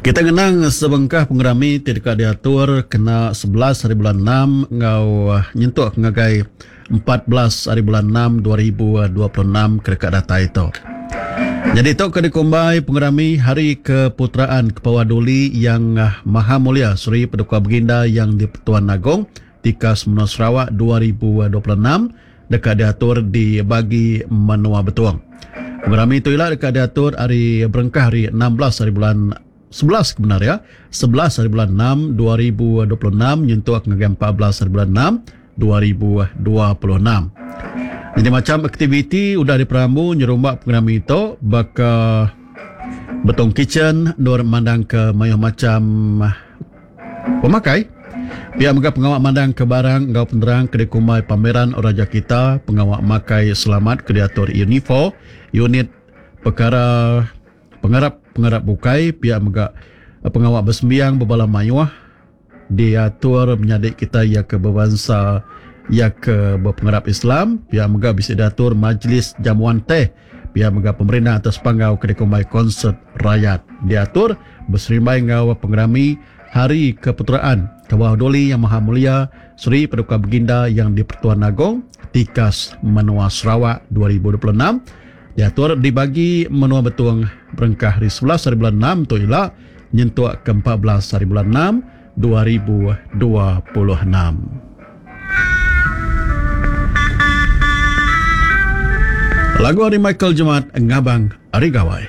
Kita ngenang sebengkah pengerami ti deka diatur kena 11 hari bulan 6 enggau nyentuk ngagai 14 hari bulan 6 2026 ke deka datai tu. Nyadi tu ke dikumbai pengerami Hari Keputeraan Kepawah Duli Yang Maha Mulia Seri Paduka Baginda Yang di-Pertuan Agong Tikas Menua Sarawak 2026 deka diatur di Bagi Menua Betong. Pengerami tu ila deka diatur ari berengkah ari 16 hari bulan 11 ke bendar iya, 11 hari bulan 6 2026 nyentuk ngagai 14 hari bulan 6 2026. Nyadi macham aktiviti udah diperambu nyerumba pengerami tu baka Betong Kitchen endur mandangka mayuh macham Pemakai. Pia mega pengawa mandangka barang enggau penerang ke dikumbai Pameran Raja Kita, pengawa makai selamat ke diatur UNIFOR, Unit Pekara Pengarap Pengarap Bukai, pia mega pengawa besembiang bebala mayuh diatur menyadi kitai iya ke bebansa iya ke bepengarap Islam, pia mega bisi diatur Majlis Jamuan Teh, pia mega pemerindang atas panggau ke dikumbai Konsert Rayat diatur beserimbai enggau pengerami Hari Keputeraan Kebawah Duli Yang Maha Mulia Seri Paduka Baginda Yang di-Pertuan Agong Tikas Menua Sarawak 2026 diatur di Bagi Menua Betong berengkah hari 11 hari bulan 6 tu ila nyentuk ke 14 hari bulan 6 2026. Lagu ari Michael Jemat Ngabang Ari Gawai.